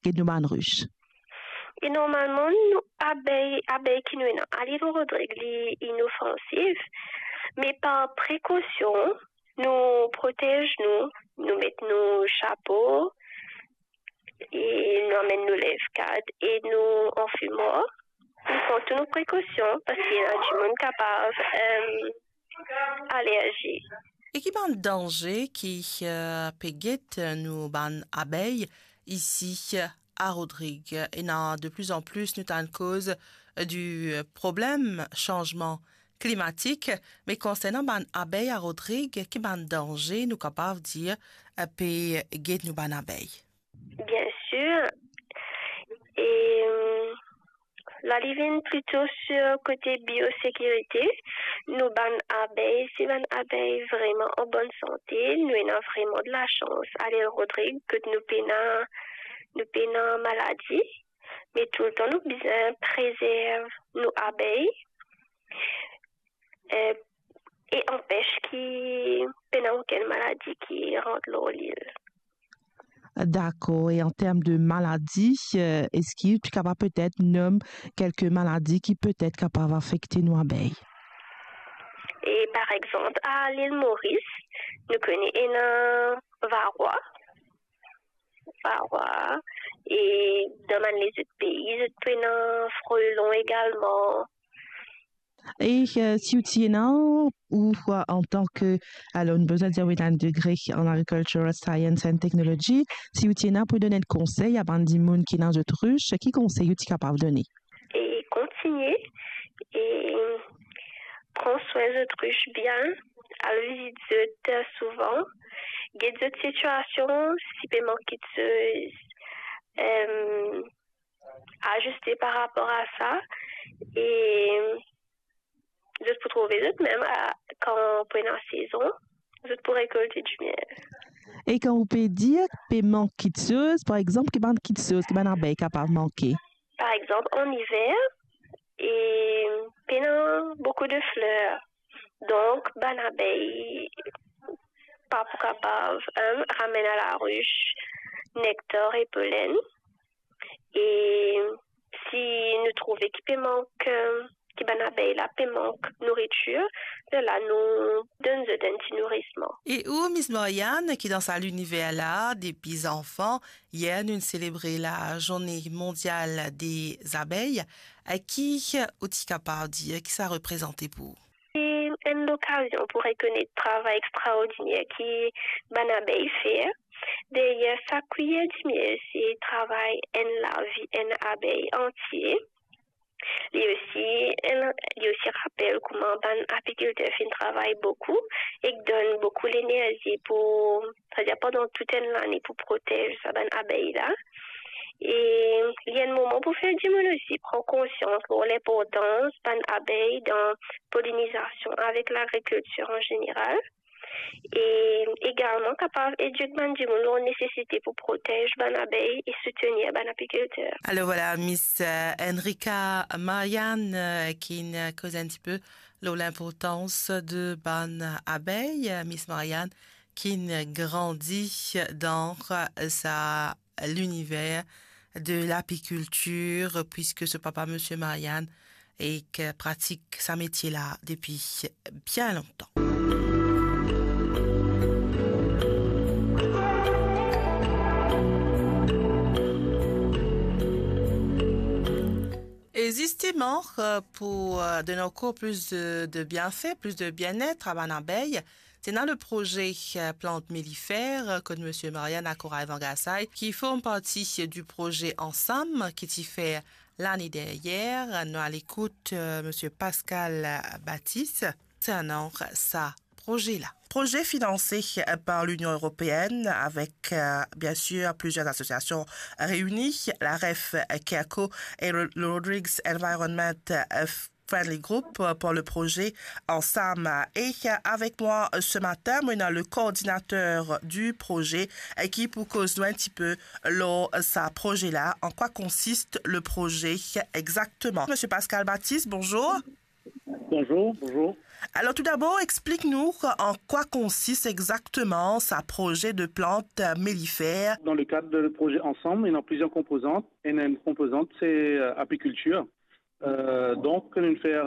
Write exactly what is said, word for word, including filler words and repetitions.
get nou bann ris? E normalman, nou abey, abey ki nou ena a Lil Rodrig, li inofansif, me par prekosion, nou protez nou, nou met nou sapo, e nou amenn nou levkad e nou anfimwar. Nou pran tou nou prekosion, parski ena dimoun kapav, em, alerzi. E ki bann danze ki, eh, pe get nou bann abey isi a Rodrig? Ena de plus en plus nou tann koz di problem sanzman klimatik, me konsernan bann abey a Rodrig, ki bann danze nou kapav dir, eh, pe get nou bann abey? Bien sir. E, la, li vinn plito sir kote biosekirite. Nou bann abey, se bann abey vreman an bonn sante. Nou ena vreman de lasans a Lil Rodrig, kot nou pena, nou pena maladi. Me toultan nou bizin prezerv nou abey, eh, e anpes ki pena okenn maladi ki rant lor lil. Dakor. E an term de maladi, eh, eski ou ti kapav petet nom kelke maladi ki petet kapav afekte nou abey? E par exanp, a Lil Moris, nou kone ena varwa. Varwa. E dan bann lezot pei, zot pou ena frelon egalman. E, eh, si ou ti ena, ou, eh, antan ke, alor, nou bizin dir ou ena enn degre an agricultural science and technology, si ou ti ena pou donn enn konsey a bann dimoun ki ena zot ris, ki konsey ou ti kapav done? E kontigne, e pran swin zot ris bien, al vizit zot, eh, souvan, get zot sitiasion, si pe mank kiksoz, em, aziste par rapor a sa, e zot pou trouve zot mem, a, kan pou ena sezon, zot pou rekolte dimiel. E kan ou pe dir pe mank kiksoz, par exanp, ki bann kiksoz ki bann abey kapav manke? Par exanp, an iver, e pena boukou de fler. Donk, bann abey pa pou kapav, em, ramenn a laris nektar e polenn. E si nou trouve ki pe mank, eh, ki bann abey la pe mank nouritir, lerla nou donn zot enn ti nourisman. E ou, Miss Marianne, ki dan sa liniver la depi zanfan, yer nou selebre la Journée Mondiale des Abeilles, eh, ki ou ti kapav dir ki sa reprezante pou ou? Se enn lokazion pou rekonet travay extraordiner ki bann abey fer. Deryer sak kwiyer dimiel, se travay enn lavi enn abey antie. Li osi, enn, li osi rapel kouma bann apikilter finn travay boukou ek donn boukou lenerzi pou, setadir pandan tou enn lane, pou protez sa bann abey la. E li enn moman pou fer dimoun osi pran konsians lor linportans bann abey dan polinizasion avek lagrikiltir an zeneral. E egalman kapav edik bann dimoun lor nesesite pou protez bann abey e soutenir bann apikilter. Alors voilà, Miss, euh, Enrica Marianne, euh, ki'nn koz enn tipe lor linportans de bann abey. Miss Marianne ki'nn grandi dan sa liniver de lapikiltir, puiske so papa, Misie Marianne, e ki pratik sa metie la depi bien lontan. E zisteman, euh, pou, euh, donn ankor plis de, de bienfe, plis de bienet a bann abey, ti ena le proze, euh, Plant Mellifère, euh, kot Misie Marianne akourav Vangasay, ki form parti du proze Ansam, ki ti fer lane deryer. Nou al ekout, euh, Misie Pascal Baptiste konsernan sa proze la. Proze finanse, euh, par l'Union européenne avec, euh, bien sûr, plusieurs associations réunies, la REF, euh, Kerco et le, le Rodrigues Environment, euh, Friendly Group, euh, pour le projet Ansam. Et, euh, avec moi, euh, ce matin, nou ena le coordinateur du projet, euh, ki pou koz nou enn tipe lor sa proze la. En quoi consiste le projet exactement ? Misie Pascal Baptiste, bonjour. Bonjour, bonjour. Alors tout d'abord, explique-nous en quoi consiste exactement ce projet de plante mellifère. Dans le cadre de projet Ensemble, il y a plusieurs composantes. Et une composante, c'est euh, apiculture. Euh, donc, nous faire